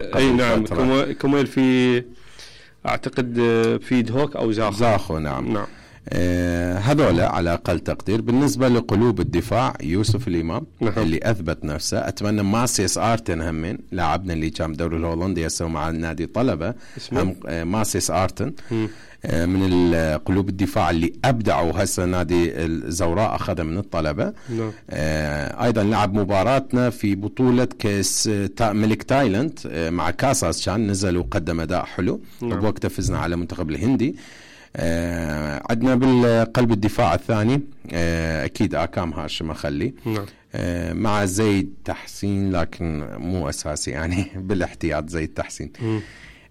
اي نعم. كوميل في اعتقد في دهوك او زاخو. نعم. هذول على أقل تقدير. بالنسبة لقلوب الدفاع يوسف الإمام اللي أثبت نفسه. أتمنى ماسيس آرتن همين لاعبنا اللي كان بدوري الهولندي يسوي مع النادي طلبة. ماسيس آرتن من القلوب الدفاع اللي أبدعوا. هسه نادي الزوراء أخذ من الطلبة. أيضا لعب مباراتنا في بطولة كاس ملك تايلاند مع كاساس كان نزل وقدم أداء حلو. وبوقته فزنا على منتخب الهندي. عندنا بالقلب الدفاع الثاني أكيد آكام هاشم أخلي مع زيد تحسين لكن مو أساسي يعني بالاحتياط زيد تحسين.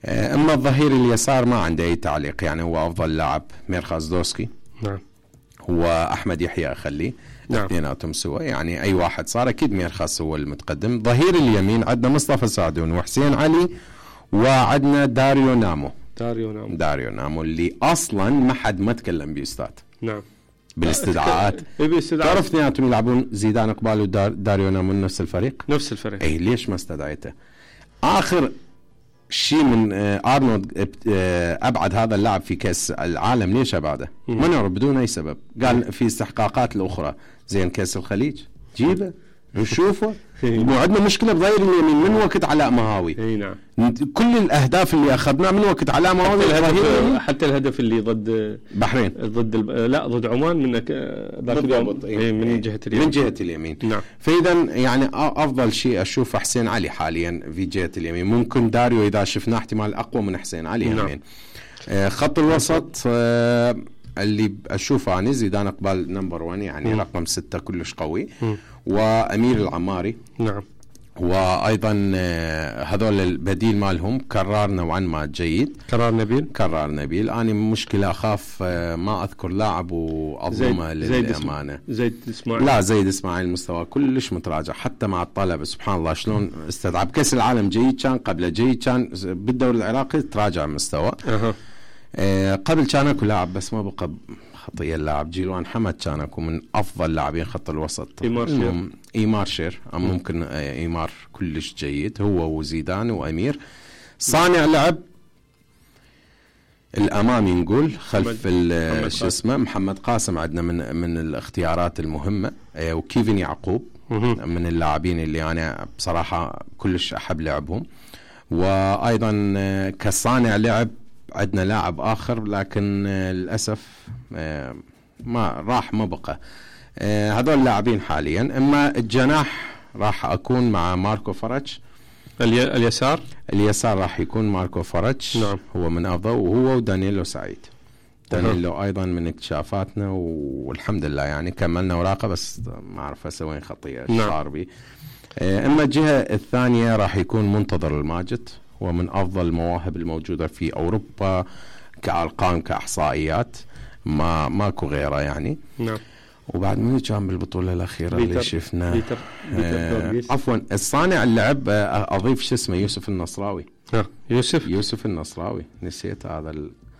أما الظهير اليسار ما عنده أي تعليق يعني هو أفضل لاعب ميرخاز دوسكي. هو أحمد يحيى أخلي اثنيناتهم سوا يعني أي واحد صار أكيد ميرخاز هو المتقدم. ظهير اليمين عندنا مصطفى سعدون وحسين علي وعندنا داريو نامو اللي أصلا ما حد ما تكلم بيستاد. نعم. بالاستدعاءات تعرف اثنيناتهم يلعبون زيدان إقبال وداريو نامو نفس الفريق. أي ليش ما استدعيته؟ آخر شيء من أرنولد أبعد هذا اللاعب في كأس العالم ليش أبعده؟ ما نعرف بدون أي سبب. قال في استحقاقات الأخرى زين كأس الخليج جيبه نشوفه. وعندنا مشكلة بظهير اليمين من وقت علاء مهاوي. نعم. كل الأهداف اللي أخذناه من وقت علاء مهاوي حتى الهدف اللي ضد بحرين ضد عمان من جهة اليمين. نعم. فإذا يعني أفضل شيء أشوف حسين علي حاليا في جهة اليمين. ممكن داريو إذا شفنا احتمال أقوى من حسين علي. نعم. خط الوسط اللي أشوفه يعني زيدان إقبال نمبر 1 يعني رقم 6 كلش قوي. وأمير العماري. نعم. وأيضا هذول البديل مالهم كرار نوعا ما جيد. كرار نبيل أنا مشكلة أخاف ما أذكر لاعب وأظلمه للأمانة. زيد إسماعيل مستوى كلش متراجع حتى مع الطلبة. سبحان الله شلون استدعى بكأس العالم جيد كان قبل جيد كان بالدوري العراقي تراجع مستوى. قبل كان اكو لاعب بس ما بقى خطية اللاعب جيلوان حمد كان اكو من افضل لاعبين خط الوسط. ايمار شير ممكن ايمار كلش جيد هو وزيدان وامير. صانع لعب الامامي نقول خلف شو اسمه محمد قاسم عندنا من الاختيارات المهمة. وكيفن يعقوب من اللاعبين اللي انا بصراحة كلش احب لعبهم. وايضا كصانع لعب عندنا لاعب آخر لكن للأسف ما بقى. هذول لاعبين حاليا. أما الجناح راح أكون مع ماركو فرج. اليسار راح يكون ماركو فرج. نعم. هو من أفضل وهو ودانييلو سعيد. دانييلو أيضا من اكتشافاتنا والحمد لله يعني كملنا وراقة بس ما أعرف أسوين خطية الشاربي. أما الجهة الثانية راح يكون منتظر الماجد ومن أفضل المواهب الموجودة في أوروبا كأرقام كإحصائيات ماكو غيره يعني. نعم. وبعد من كان بالبطولة الأخيرة اللي شفنا عفوا الصانع اللعب أضيف شو اسمه يوسف النصراوي. يوسف النصراوي نسيت هذا